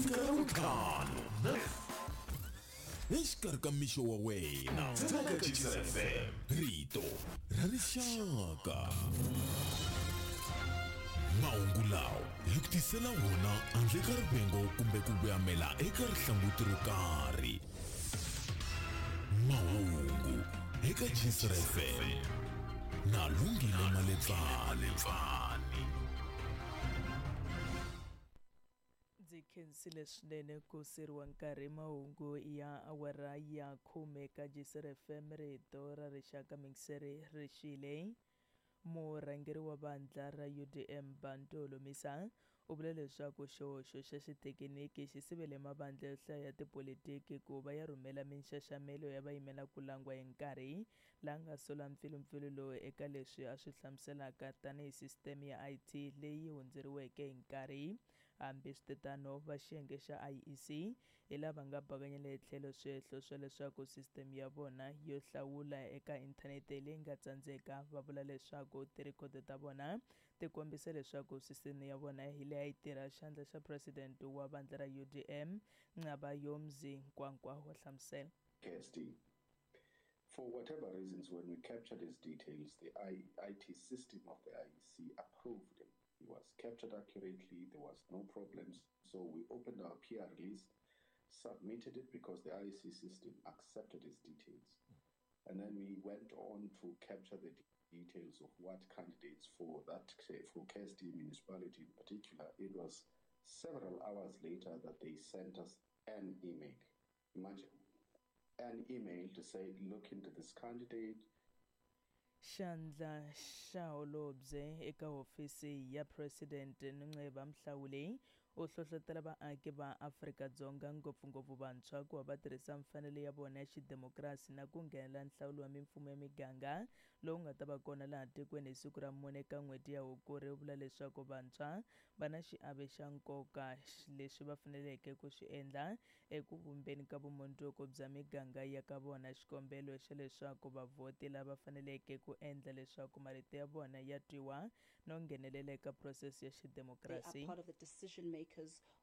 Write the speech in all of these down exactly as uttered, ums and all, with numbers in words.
fika Ravuntlhanu exikarhi ka mixo wa wena eka Gcis F M, rito ra rixaka. Mahungu lawa hi ku tisela wona handle ka rivengo kumbe ku voyamela eka rihlanguti ro karhi. Mahungu eka Gcis F M na Lungile Maletsani. Ndzi khensile swinene ku siriwa nkarhi. Mahungu ya awara ya khume ka Gcis F M, rito ra rixaka. Mingiseri rixile. Murhangeri wa vandla ra U D M Bantu Holomisa u vule leswaku xihoxo xa xithekiniki xi sivele mavandla yo hlaya ya tipolitiki ku va ya rhumela minxaxamelo ya vayimela ku langwa hi nkarhi, laha nga sola mpfilumpfilu lowu eka leswi a swi hlamuselaka tanihi sisiteme ya I T leyi hundzeriweke hi nkarhi. Hambiswiritano, va xiyenge xa I E C hi lava nga bakanyela hi tlhelo swihehlo swa leswaku sisiteme ya vona yo hlawula eka inthanete leyi nga tsandzeka. Va vula leswaku tirhikhodo ta vona ti kombisa leswaku sisiteme ya vona hi leyi a yi tirha. Xandla xa president wa vandla ra U D M Nqabayomzi Kwankwa wa hlamusela. K S D. For whatever reasons, when we captured his details, the I T system of the I E C approved him. He was captured accurately, there was no problems. So we opened our P R release, submitted it because the I E C system accepted his details. And then we went on to capture the details of what candidates for that, for K S D municipality in particular. It was several hours later that they sent us an email. Imagine, an email to say, look into this candidate. Xandla xa holobye eka hofisi ya president Nnceba Mhlawuli u hlohlotela vaaki va Afrika-Dzonga, ngopfungopfu vantshwa, ku va va tirhisa mfanelo ya vona ya xidemokirasi na ku nghenela nhlawulo wa mimfumo ya miganga lowu nga ta va kona laha tikweni hi siku ra mune ka n'hweti ya Hukuri. U vula leswaku vantshwa va na xiave xa nkoka leswi va faneleke ku swi endla eku vumbeni ka vumundzuku bya miganga ya ka vona. Xikombelo xa leswaku vavhoti lava faneleke ku endla leswaku marito ya vona ya twiwa no nghenelela eka process ya xidemokirasi.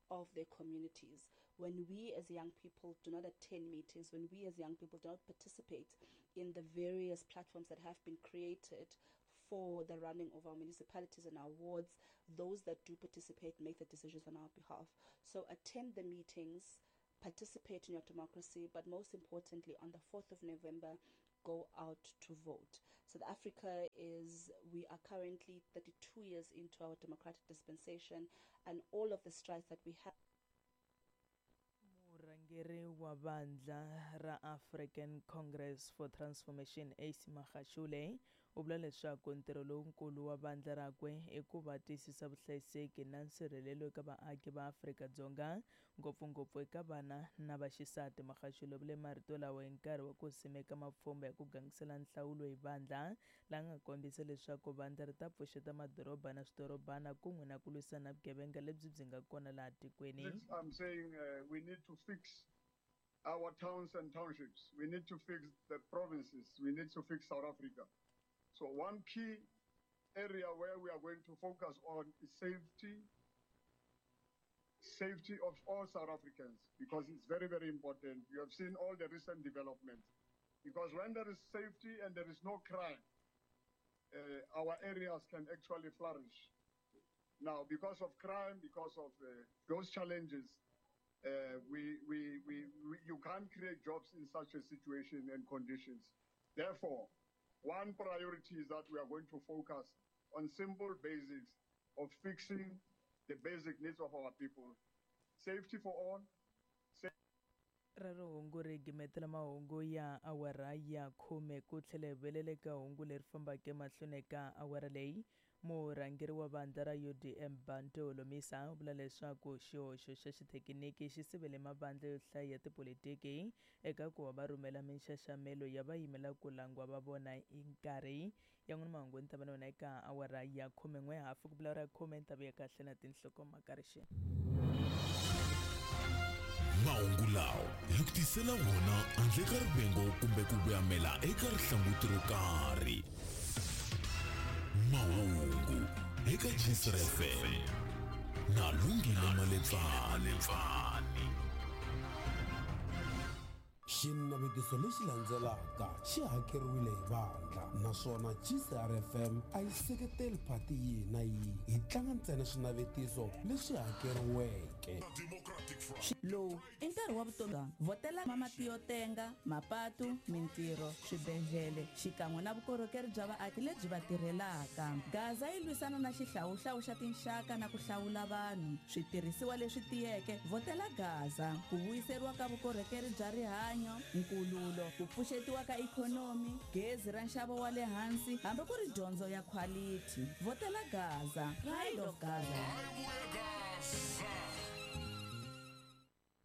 Of their communities. When we as young people do not attend meetings, when we as young people do not participate in the various platforms that have been created for the running of our municipalities and our wards, those that do participate make the decisions on our behalf. So attend the meetings, participate in your democracy, but most importantly, on the fourth of November, go out to vote. South Africa is, we are currently thirty-two years into our democratic dispensation, and all of the strides that we have. Murhangeri wa vandla ra African Congress for Transformation Ace Magashule u vula leswaku ntirho lowukulu wa vandla rakwe i ku va tiyisisa vuhlayiseki na nsirhelelo eka vaaki va Afrika-Dzonga, ngopfungopfu eka vana na vaxisati. Magashule u vule marito lawa hi nkarhi wa ku simeka mapfhumba ya ku gangisela nhlawulo hi vandla, laha nga kombisa leswaku vandla ri ta pfuxeta madoroba na swidorobana kun'we na ku lwisana na vugevenga lebyi byi nga kona laha tikweni. I'm saying uh, we need to fix our towns and townships. We need to fix the provinces. We need to fix South Africa. So one key area where we are going to focus on is safety, safety of all South Africans, because it's very, very important. You have seen all the recent developments. Because when there is safety and there is no crime, uh, our areas can actually flourish. Now, because of crime, because of uh, those challenges, uh, we, we, we, we, you can't create jobs in such a situation and conditions. Therefore, one priority is that we are going to focus on simple basics of fixing the basic needs of our people. Safety for all. Rero hungu ri gimetela mahungu ya awara ya khume ku tlhela hi vuyelela eka hungu leri fambaka emahlweni eka awara leyi. Murhangeri wa vandla ra U D M Bantu Holomisa u vula leswaku xihoxo xa xithekiniki xi sivele mavandla yo hlaya ya tipolitiki eka ku va va rhumela minxaxamelo ya vayimela ku langwa va vona hi nkarhi. Ya n'wina mahungu ni ta va na wena eka awara ya khumen'we hafu ku vulavula khume ni ta vuya kahle na tinhlokomhaka rixeni. Mahungu lawa hi ku tisela wona handle ka rivengo kumbe ku voyamela eka rihlanguti ro karhi. Mahungu eka Gcis F M. Na Lungile Maletsani. Xinavetiso lexi landzelaka xi hakeriwile hi vandla naswona G C R F M a yi seketeli phati yihi na yihi, hi tlanga ntsena swinavetiso leswi hakeriweke. Lowu i nkarhi wa vutomi vhotela mati yo tenga, mapatu, mintirho, swibedhlele xikan'we na vukorhokeri bya vaaki lebyi va tirhelaka. Gaza yi lwisana na xihlawuhlawu xa tinxaka na ku hlawula vanhu, switirhisiwa leswi tiyeke. Vhotela Gaza ku vuyiseriwa ka vukorhokeri bya rihanyo, nkululo, ku pfuxetiwa ka ikhonomi, gezi ra nxavo wa le hansi hambi ku ri dyondzo ya quality. Vhotela Gaza, Pride of Gaza.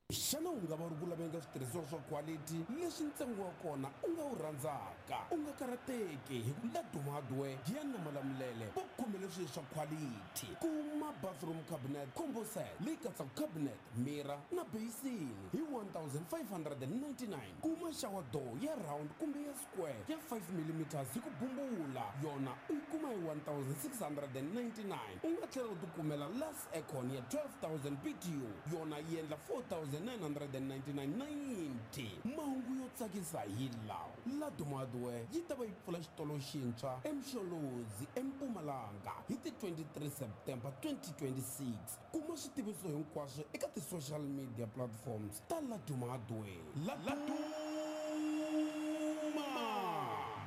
Xana u nga va u ri ku laveni ka switirhisiwa swa quality leswi ntsengo wa kona u nga wu rhandzaka? U nga karhateki hi ku Laduma Hardware Giyani Malamulele va khomele swilo swa quality. Kuma bathroom cabinet combo set leyi katsaka cabinet, mirror na basin hi one thousand five hundred and ninety-nine. Kuma shower door ya round kumbe ya square ya five millimeters hi ku bumbula, yona u yi kuma hi one thousand six hundred and ninety-nine. U nga tlhela u tikumela last aircon ya twelve thousand B T U, yona yi endla four thousand nine hundred and ninety-nine ninety. Mahungu yo tsakisa hi lawa: Laduma Hardware yi ta va yi pfula xitolo xintshwa eMsholozi eMpumalanga hi ti twenty-three September twenty twenty-six. Kuma switiviso hinkwaswo eka ti-social media platforms ta Laduma Hardware. Laduma,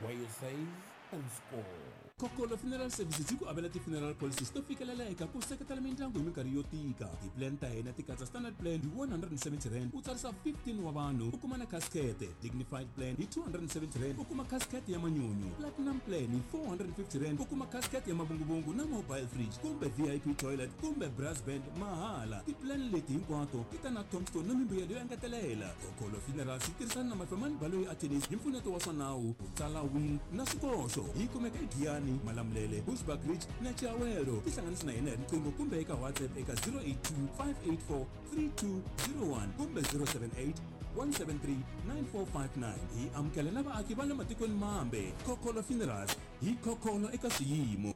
where you save and score. Kokolo Funeral Services yi ku avela ti-funeral policies to fikeleleka ku seketela mindyangu hi minkarhi yo tika. Ti-plan ta hina ti katsa standard plan hi one hundred and seventy rand u tsarisa fifteen wa vanhu u kuma na casket, dignified plan hi two hundred and seventy rand u kuma casket ya manyunyu, platinum plan hi four hundred and fifty rand u kuma casket ya mavunguvungu na mobile fridge kumbe V I P toilet kumbe brass band mahala. Ti-plan leti hinkwato ti ta na tombstone na mimbuyelo yo engetelela. Kokolo Funerals yi tirhisana na Mafemani Baloyi Attorneys hi mpfuneto wa swa nawu, ku tsala will na swikoxo. Yi kumeka eGiyani, Malamulele, Bushbuckridge na Chiawelo. Tihlanganisi na hina hi riqingho kumbe eka WhatsApp eka zero eight two, five eight four, three two zero one kumbe zero seven eight, one seven three, nine four five nine. Hi amukela na vaaki va le matikweni mambe. Kokolo Funerals, hi kokolo eka swiyimo.